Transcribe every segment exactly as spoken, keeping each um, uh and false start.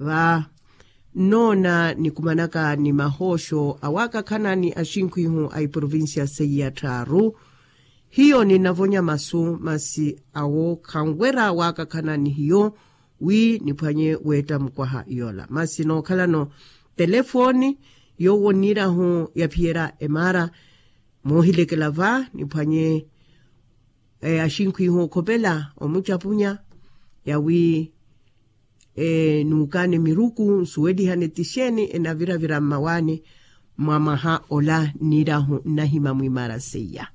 Va nnoona nikumanaka ni mahooxo awaakakhana ni axinkhwihu a iprovincia seiya tthaaru. Hiyo ninavonya masu masi awo khanwera waakakhana ni hiyo wi niphwanye weetta mukwaha yoola masi nookhalano telefooni yoowo nniirahu yaphiyerya emaara. Moohilekela va niphwanye axinkhwihu okhopela omucapunya yawi nuukaane miruku nsuwelihane ti xeeni enaviravira mmawaani mwa mwaha ola nniirahu nnahima mwimaara seiya.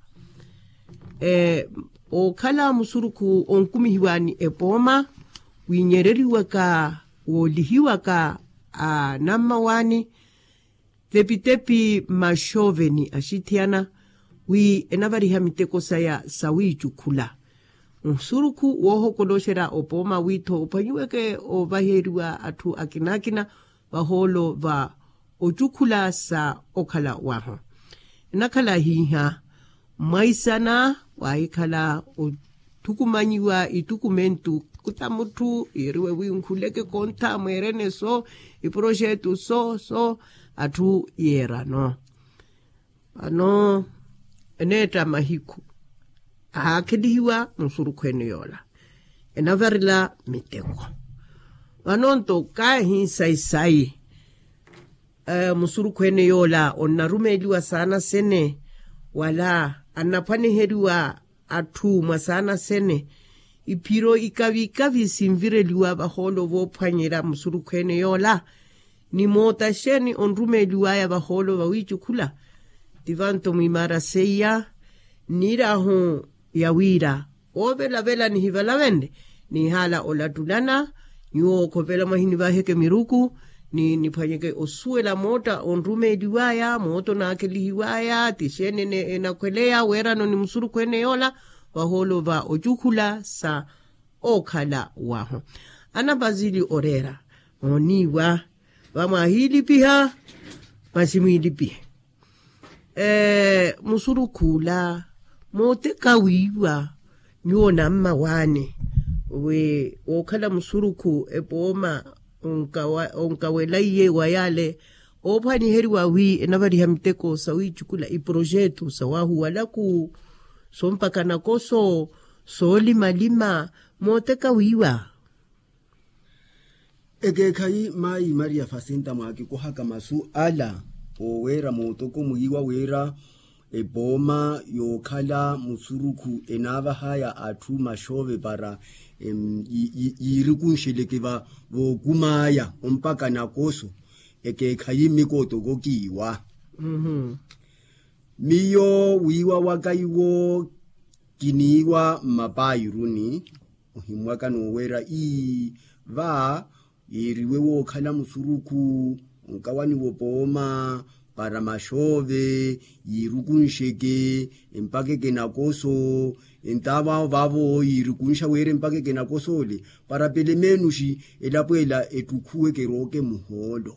Okhala musurukhu onkumihiwaani epooma wiinyereriwaka woolihiwaka anammawaani tepitepi maxooveni axithiyana wi enavariha miteko saya sawiicukhula musurukhu woohokoloxerya opooma wiitho ophwanyiweke oovaheriwa atthu akina akina vahoolo va ocukhula sa okhala wahu. Enakhala hiiha mwaisana waahikhala othukumanyiwa ittukumentu kuta mutthu yiiriwe wi nkhuleke kontha mweerene so iproxetu so so atthu yeerano. Vano eneetta mahiku ahaakhelihiwa musurukhu ene yoola enavarela miteko. Vano nto kaahi sayi sayi musurukhu ene yoola onnarumeeliwa saana sene wala annaphwaneheriwa atthu mwa saana sene iphiro ikavi ikavi sinvireliwa vahoolo voophwanyerya musurukhu ene yoola ni moota xeeni onrumeeliwaya vahoolo vawiicukhula. Ti vanto mwimaara seiya nniirahu yawiira oovelavela nihivalavenle niihaala olattulana nyuwo okhopela mwahinivaheke miruku ni niphwanyeke osuwela mootta onrumeeliwaya mootta onaakhelihiwaya ti xeeni enakhweleya weerano ni musurukhu ene yoola vahoolo va ocukhula sa okhala wahu. Anapazili oreera mooniiwa vamwaahiilipiha masi mwiilipihe musurukhu ola mooteka wiiwa nyuwo nammawaani wi wookhala musurukhu epooma onkawela iye wa yaale oophwaniheriwa wi enavariha miteko sawiicukula iproxetu sawaahuwalaku sompaka nakoso soolimalima mooteka wiiwa. Ekeekhayi maayi maria fasinta mwaakikuhaka masu ala oweera mootoko mwiiwa wira epooma yookhala musurukhu enaavahaya atthu maxoove para yiirikunxeleke vookumaya ompaka nakoso. Ekeekhayi mmikootoko kiiwa miyo wiiwa waka iwo kiniiwa mmapairuni ohimmwaka nooweera ii va yiiriwe wookhala musurukhu onkawaniwa opooma para maxoove yiirukunxeke empaka ekenakoso. Entaavo awo vaavo yiirukunxa wira empaka ekenakoso ole para pelo menuxi elapo ela ettukhuwe kerooke muhoolo.